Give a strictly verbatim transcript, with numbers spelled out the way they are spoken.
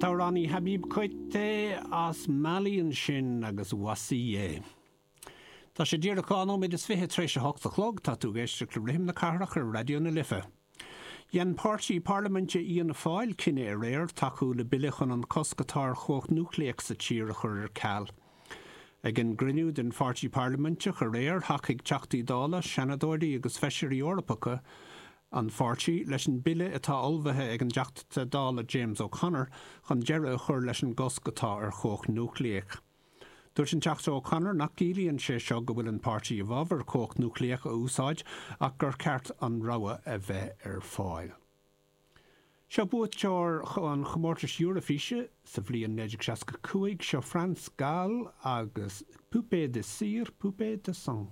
t-amhránaí Habib Koité as Mali ansin agus Voici. Tá sé díreach dhá nóiméad is fiche tar éis a hocht a chlog tá tú ag éisteacht le Rithim na Cathrach ar Raidió na Life. Dhein páirtí parlaiminte Fhianna Fáil cinneadh aréir tacú le bille chun an cosc atá ar chumhacht núicléach sa tír a chur ar ceal. Ag an gcruinniú den pháirtí parlaiminteach aréir thacaigh Teachtaí Dála, Seanadóirí agus Feisirí Eorpacha an pháirtí leis an bille atá ullmhaithe ag an dTeachta Dála James O'Connor chun deireadh a chur leis an gcosc atá ar chumhacht núicléach. Dúirt an Teachta O'Connor nach gciallaíonn sé seo go bhfuil an páirtí i bhfabhar cumhacht núicléach a úsáid ach gur ceart an rogha a bheith ar fáil. Seo buaiteoir an chomórtais Eoraifíse sa bhliain naoi déag seasca cúig seo France Gall agus Poupée de cire, poupée de son.